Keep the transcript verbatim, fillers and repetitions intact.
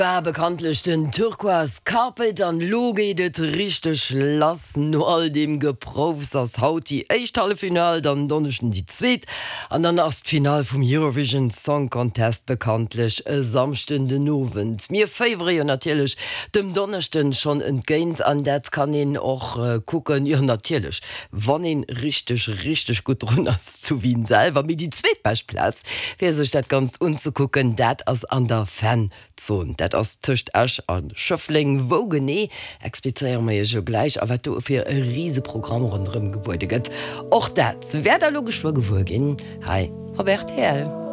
War bekanntlech den Turquoise Carpet an lo geet et richteg lass. No all deem Geproufs ass haut déi éischt Halleffinall, dann Donneschden déi zweet an dann ass d'Finall vum Eurovision Song Contest bekanntlech e Samschden den Owend. Mir féiwere jo natierlech dem Donneschden schonn entgéint an dat kann een och kucken, jo natierlech wann een richteg richteg gutt drun ass zu Wien selwer. Mee déi zweetbescht Plaz fir sech dat Ganzt unzekucken, dat ass an der Fan Zon. Dat ass tëscht Esch a Schëffleng. Wou genee, explizéiere mer iech jo gläich a wat do fir e Riseprogramm ronderëm gebuede gëtt, och dat wäert der elo geschwë gewuer ginn hei op rtl.